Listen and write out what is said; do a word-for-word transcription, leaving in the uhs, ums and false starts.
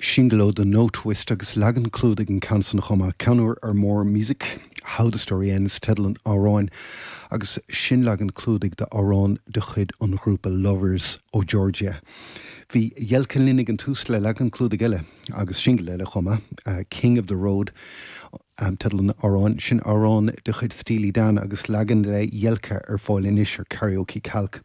Singil ó The Notwist agus leagan clúdaigh an ceann san chomh maith ceann úr ar Morr Music, How the Story Ends teideal an amhráin agus sin leagan clúdaigh d'amhrán de chuid an ghrúpa Lovers ó Georgia. Bhí Jelka linn ag an tús le leagan clúdaigh eile agus singil eile chomh maith, uh, King of the Road um, teideal an amhráin sin amhrán de chuid Steely Dan agus leagan le Jelka ar fáil anois ar Karaoke Calc.